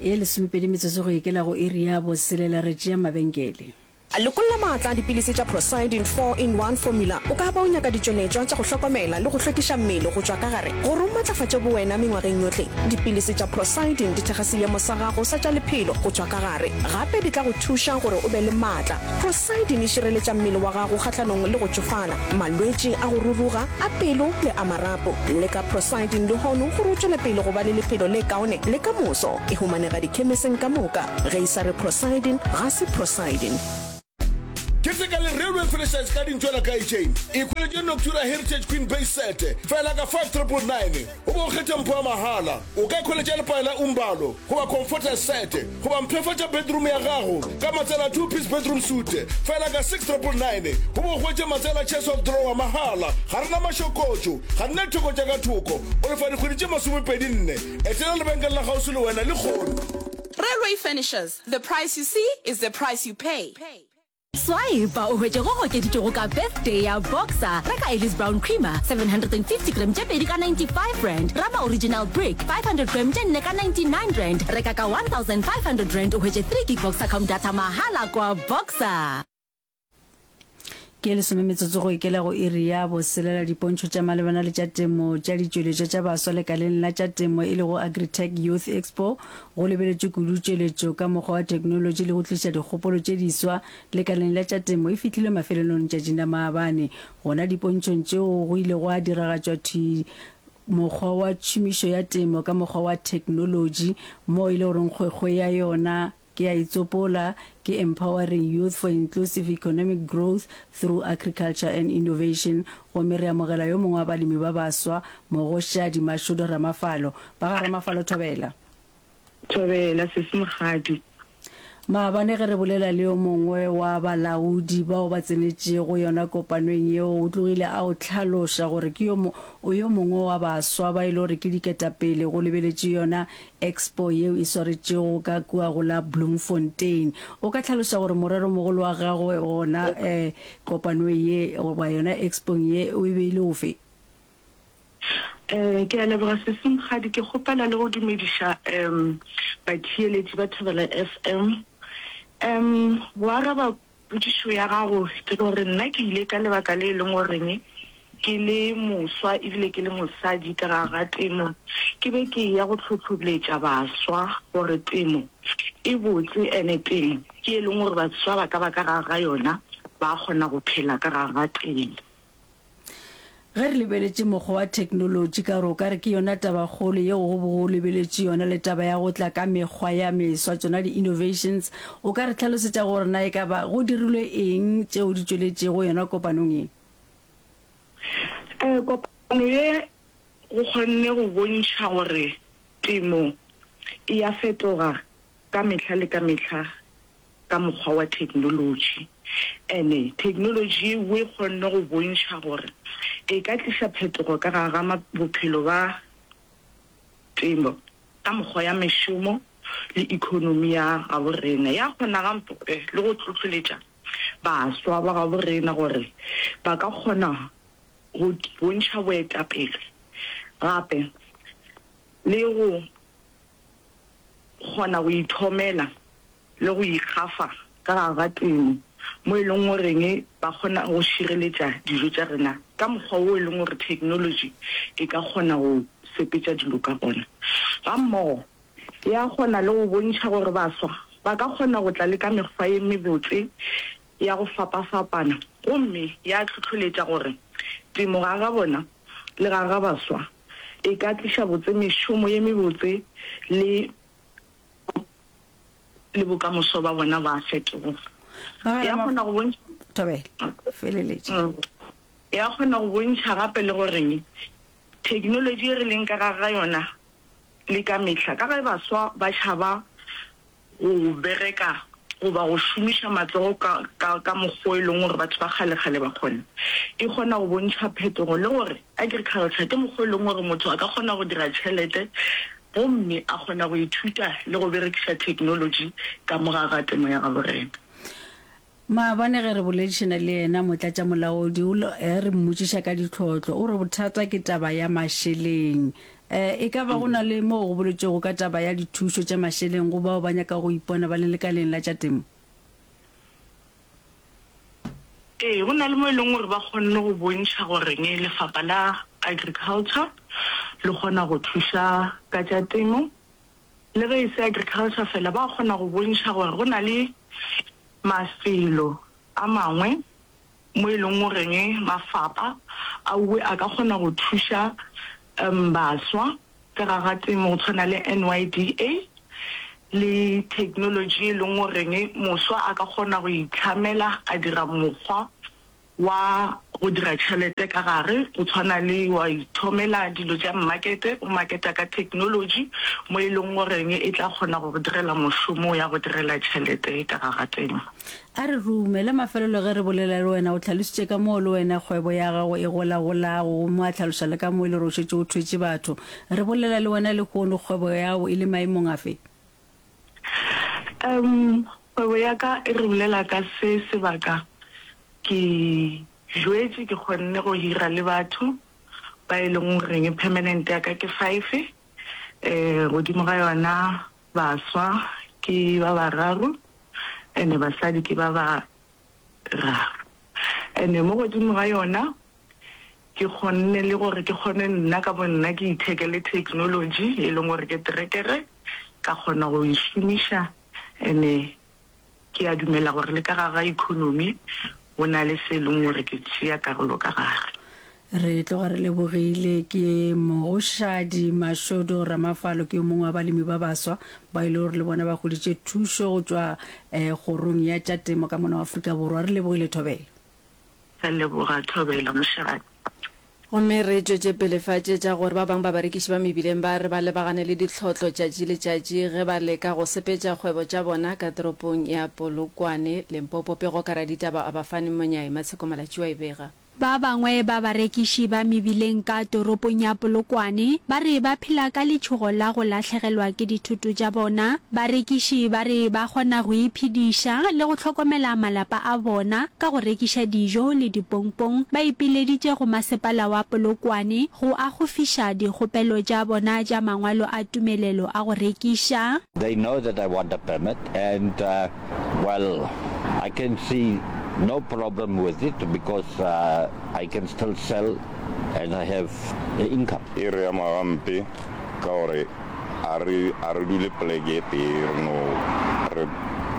E lesomepedi metsotso go ikela go iri ya boselela re tšea mabenkele. Lekolla maatla a dipilisi tša Procyldin 4-in-1 Formula. O ka ba o nyaka ditšweletšwa tša go hlokomela le go hlwekiša mmele go tšwa ka gare gore o matlafatše bowena mengwageng yohle. Dipilisi tša Procyldin di thekga seemo sa gago sa tša lephelo go tšwa ka gare. Gape di tla go thuša gore o be le maatla. Procyldin e šireletša mmele wa gago kgahlanong le go tšofala, malwetši a go ruruga, a pelo le a marapo. Leka Procyldin lehono gore o tšwele pele go ba le lephelo le kaone le ka moso. E humanega dikhemiseng ka moka. Ge e sa re Procyldin, ga se Procyldin. Keteka le Railway Furnishers ka dintšwana ka Ejane. Ikhweletše Noctura Heritage Queen Base Set fela ka 5999 o be o kgethe mpho ya mahala. O ka ikhweletša lepae la Umbalo goba Comforter Set goba mpshafatša bedroom ya gago ka matsela a Two Piece Bedroom Suite fela ka 6999 o be o hwetše matsela Chest of Drawer mahala. Ga re na mašokotšo, ga re na ditheko tša ka thoko. O lefa dikgwedi tše masomepedi-nne. Etela lebenkele la kgauswi le wena lehono. Railway Furnishers, the price you see is the price you pay. Swipa o hwetše go gokeditšwego ka Birthday ya Boxer. Reka Ellis Brown Creamer 750 gram tše pedi ka R95, Rama Original Brick 500 gram tše nne ka R99. Reka ka R1500 o hwetše 3 gig Voxacom data mahala kwa Boxer. Ke lesome metsotso go ikela go iri ya boselela dipontšho tša malebana le tša temo tša ditšweletšwa tša baswa lekaleng la tša temo e lego Agritech Youth Expo go lebeletšwe kudu tšweletšo ka mokgwa wa theknolotši le go tliša dikgopolo tše diswa lekaleng la tša temo e fihlile mafelelong letšatšing la maabane gona dipontšhong tšeo go ile gwa diragatšwa thwi mokgwa wa tšhomišo ya temo ka mokgwa wa theknolotši moo e le goreng kgwekgwe ya yona Ke a itsopola, ke Empowering Youth for Inclusive Economic Growth Through Agriculture and Innovation, gomme re amogela yo mongwe wa balemi ba baswa, Mogoshadi Mashudu Ramafalo. Ba ga Ramafalo thobela. Thobela, Sesi Mokgadi. Maabane ge re bolela le yo mongwe wa balaodi bao ba tsenetšego yona kopanong yeo, o tlogile a o hlaloša gore ke yo o yo mongwe wa baswa ba e le gore ke diketapele go lebeletše yona Expo yeo e swaretšego ka kua go la Bloemfontein. O ka hlaloša gore moreromogolo wa gago gona kopanong ye goba yona expong ye o e be e le ofe? Ke a leboga Sesi Mokgadi. Ke kgopela le go dumediša batheeletši ba Thobela FM. Go araba Potšišo ya gago ke gore nna ke ile ka lebaka le e leng goreng ke le moswa ebile ke le mosadi ka gare ga temo, ke be ke eya go hlohloletša baswa gore temo e botse ene temo ke e leng gore baswa ba ka ba ka gare ga yona ba kgona go phela ka gare ga temo. Ge re lebeletše mokgwa wa theknolotši ka gore o ka re ke yona tabakgolo yeo go bego go lebeletšwe yona le taba ya go tla ka mekgwa ya meswa, tšona di-innovations, o ka re hlalosetša gore na e ka ba go dirilwe eng tšeo di tšweletšego yona kopanong ye? Kopano ye go kgonne go bontšha gore temo e ya fetoga ka mehla le ka mehla ka mokgwa wa theknolotši. Ene theknolotši yeo e kgonne go bontšha gore e ka tliša phetogo ka gare ga bophelo ba temo ka mokgwa ya mešomo le ekonomi ya gabo rena. Ya kgona gape le go hlohleletša baswa ba gabo rena gore ba ka kgona go bontšha boetapele gape le go kgona go ithomela le go ikgafa ka gare ga temo mo e leng goreng ba kgona go šireletša dijo tša rena ka mokgwa wo e leng gore theknolotši e ka kgona go sepetša dilo ka gona. Gammogo ya kgona le go bontšha gore baswa ba ka kgona go tla le ka mekgwa ye mebotse ya go fapafapana gomme ya hlohloletša gore temo gare ga bona le gare ga baswa e ka tliša botse mešomo ye mebotse le le bokamoso ba bona ba fetoga. Ya kgona go bontšha Thobela, feleletša. Ya kgona go bontšha gape le gore theknolotši e re leng ka gare ga yona le ka mehla, ka ge baswa ba tšhaba go bereka goba go šomiša matsogo ka, ka, ka mokgwa o e leng gore batho ba kgalekgale ba kgona. E kgona go bontšha phetogo le gore agriculture ke mokgwa o e leng gore motho a ka kgona go dira tšhelete gomme a kgona go ithuta le go berekiša theknolotši ka mo gare ga temo ya gabo rena. Maabane ge re boledišana le yena, motlatšamolaodi o, ge re mmotšiša ka ditlhotlo, o re bothata ke taba ya mašeleng. E ka ba go na le moo go boletšwego ka taba ya dithušo tša mašeleng go bao ba nyakago go ipona ba le lekaleng la tša temo? Ee, go na le mo e leng gore ba kgonne go bontšha goreng lefapha la agriculture le kgona go thuša ka tša temo. Le ge e se agriculture fela, ba kgona go bontšha gore go na le mafelo a mangwe mo e leng goreng mafapa auwe a ka kgona go thuša baswa ka ga ga temo go tshwana le NYDA le technology e leng goreng moswa a ka kgona go itlhamela a dira mokgwa wa go dira tšhelete ka gare, go tshwana le wa ithomela dilo tša mmakete, o maketa ka technology mo e leng goreng e tla kgona go go direla mošomo ya go direla tšhelete ka ga ga temo. A re rume, la mafelelo ge re bolela le wena o hlalositše ka moo le wena kgwebo ya gago e golagolago gomme wa hlaloša le ka moo e le gore o šetše o thwetše batho. Re bolela le wena lehono kgwebo ya gago e le maemong afe? Um, kgwebo ya ka e re bolela ka se sebaka ke jwetše ke kgonne go hira le batho ba e leng goreng permanent ya ka ke five, um godimo ga yona Baswa ke ba bararo ene basadi ke ba bararo. Ene mo godimo ga yona ke kgonne le gore ke kgone nna ka bo nna ke ithekele technology e leng gore ke terekere ka kgona go e šomiša ene Ke a dumela gore le ka gare ga ekonomi go na le se e leng gore ke tšea karolo ka gare. Re tloga re lebogile. Ke Mogoshadi Mashodo Ramafalo, ke yo mongwe wa balemi ba baswa ba e le gore le bona ba hweditše thušo go tšwa Kgorong ya tša Temo ka mono Afrika Borwa. Re lebogile Thobela. Re leboga Thobela Moshadi. Gomme re tšwetše pele fa tše tša gore ba bangwe ba barekiši ba mebileng ba re ba lebagane le ditlhotlo tšatši le tšatši ge ba leka go sepetša kgwebo tša bona ka toropong ya Polokwane, Limpopo. Pego ka raditaba Abafani Monyai, Matsheko Malatši wa e bega. Ba bangwe ba barekiši ba mebileng ka toropong ya Polokwane ba re ba phela ka letšhogo la go lahlegelwa ke dithoto tša bona. Barekiši ba re ba kgona go iphediša le go hlokomela malapa a bona ka go rekiša dijo le dipompong. Ba ipileditše go masepala wa Polokwane go akgofiša dikgopelo tša bona tša mangwalo a tumelelo a go rekiša. They know that I want a permit and well I can see no problem with it because I can still sell and I have the income. E re ama gampe ka gore A re, a re dule poleke e tee, re no, re,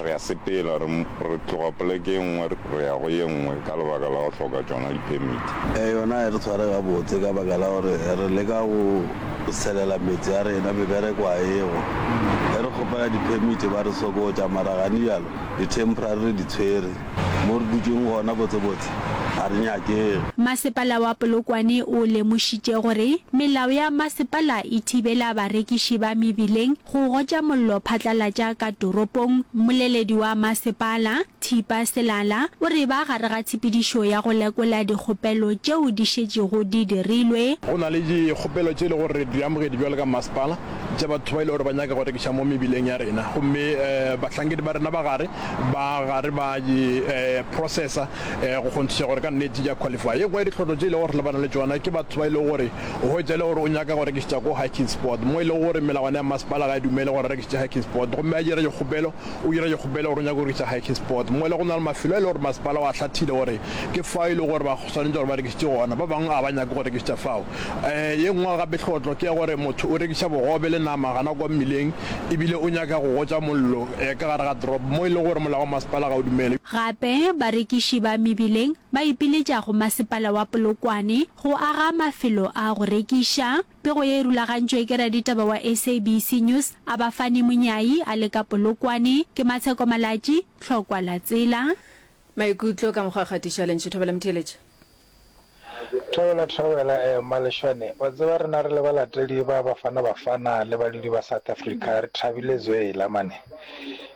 re a sepela, re, re tloga poleke e nngwe re ya go ye nngwe ka lebaka la go hloka tšona di-permit. Yona ga e re tshware gabotse ka baka la gore re leka go selela metse ya rena, mebereko ga ego. Ge re kgopela di-permit ba re sokotša, mara gane bjalo di-temporary re di tshwere. Mo re dutšeng gona botsebotse ga re nyakege. Masepala wa Polokwane o lemošitše gore melao ya masepala e thibela barekiši ba mebileng go gotša mollo phatlalatša ka toropong. Mmoleledi wa masepala, Thipa Selala, o re ba gare ga tshepedišo ya go lekola dikgopelo tšeo di šetšego di dirilwe. Go na le dikgopelo tše e lego gore re di amogedi bjalo ka masepala tša batho ba e lego gore ba nyaka go rekiša mo mebileng ya rena gomme bahlankedi ba rena ba gare ba gare ba di processa go kgonthiša gore ka nnete di a qualify. Ye nngwe ya ditlhotlo tše e lego gore re lebana le tšona ke batho ba e lego gore o hwetša e le gore o nyaka go rekišetša ko hiking spot mo e lego gore melawana ya masepala ga e dumele gore a rekišetše hiking spot gomme a dira dikgopelo o dira dikgopelo gore o nyaka go rekiša hiking spot mo e le go na le mafelo a e lego gore masepala o a hlathile gore ke fao e lego gore ba swanetše gore ba rekišetše gona ba bangwe ga ba nyake go rekišetša fao. Ye nngwe gape tlhotlo ke ya gore motho o rekiša bogobe le nama gana kwa mmileng ebile o nyaka go gotša mollo ka gare ga toropo mo e lego gore molao wa masepala ga o dumele. Gape barekiši ba mebileng ba ipiletša go masepala wa Polokwane go aga mafelo a go rekiša. Pego ye e rulagantšwe ke raditaba wa SABC News, Abafani Monyai a le ka Polokwane. Ke Matsheko Malatji, Tlhokwa la Tsela. Maikutlo ka mokgwa wa kgatišo ya lentšu Thobela Motheeletši. Thobela Thobela eh Maleshwane wa tseba rena re le balatedi ba Bafana Bafana le badudi ba South Africa re thabile zwela mane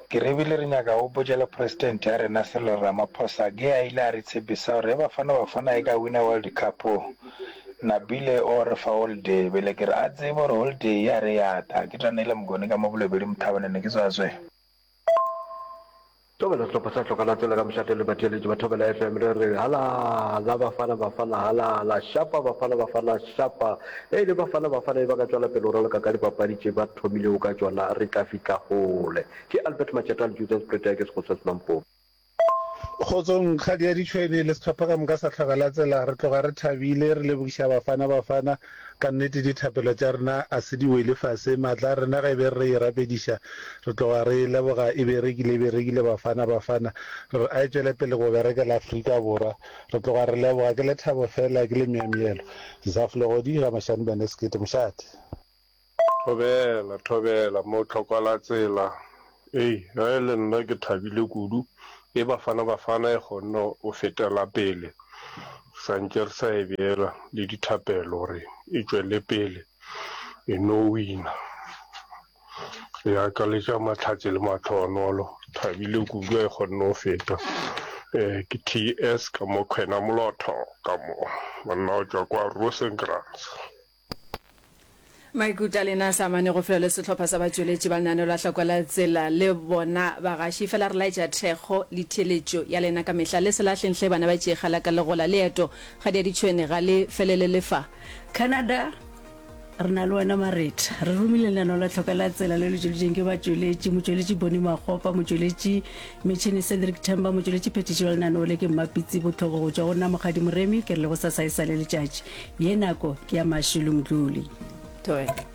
ke re ebile re nyaka go botša le president ya rena Cyril Ramaphosa ge a ile a re tshepisa gore ge Bafana Bafana e ka wina World Cup Nabile o re fa holiday bele ke re a tsebe gore holiday ya re ya ta ke Tanele Mokone ka mo Bolobedu Mothabane ne ke tswa zwe. Thobela sehlopha sa Hloka la Tsela ka mošate le batheeletši ba Thobela FM re re halala Bafana Bafana halala šapa Bafana Bafana šapa e le Bafana Bafana e ba ka tšwela pele go raloka ka dipapadi tše ba thomilego ka tšona re tla fihla kgole. Ke Albert Matšata le Julius Pretoria ke Sekgotsa Semampopi. Kgotsong, Kgadi ya Ditšhwene le sehlopha ka moka sa Hloka la Tsela, re tloga re thabile, re lebogiša Bafana Bafana. Ka nnete dithapelo tša rena a se di wele fase, maatla a rena ge e be re e rapediša, re tloga re e leboga e berekile, e berekile Bafana Bafana. Re re a e tšwele pele go berekela Afrika Borwa. Re tloga re leboga, ke lethabo fela, ke lemyamyelo. Zaf Legodi, Ga Mashane Bene Sekete, Mošate. Thobela, thobela, mo tlhokalatsela. Ei, ge e le nna ke thabile kudu. E Bafana Bafana e kgonne go fetela pele. Sa ntše re sa e beela le dithapelo gore e tšwele pele e no wina. Re akaletša mahlatse le mahlohonolo. Thabile kudu e kgonne go feta. Eh, ke TS ka mo Kgwena Molotho ka mo. Monna o tšwa kwa Rosenkrantz. Maikutlo a lena a sa amane go felo le sehlopha sa batšweletši ba lenaneo la Hlako la Tsela le bona bagaši. Fela re laetša thekgo le theeletšo ya lena ka mehla. Le se lahleng hle bana ba tšeega la ka legola. Leeto ga di a ditšhwene ga le felele le fa. Canada, Re na le wena Maretha. Re romile lenaneo la Tlhoka la Tsela le le tšweleditšweng ke batšweletši, motšweletši Bonnie Makgopa, motšweletši metšhene Cedric Themba, motšweletši phethiši wa lenaneo le ke Mmapitsi Botlhoko go tšwa go nna Mokgadi Moremi, ke re le gosasa e sa le letšatši. Ye nako ke ya Mashilo Mdluli. Thobela.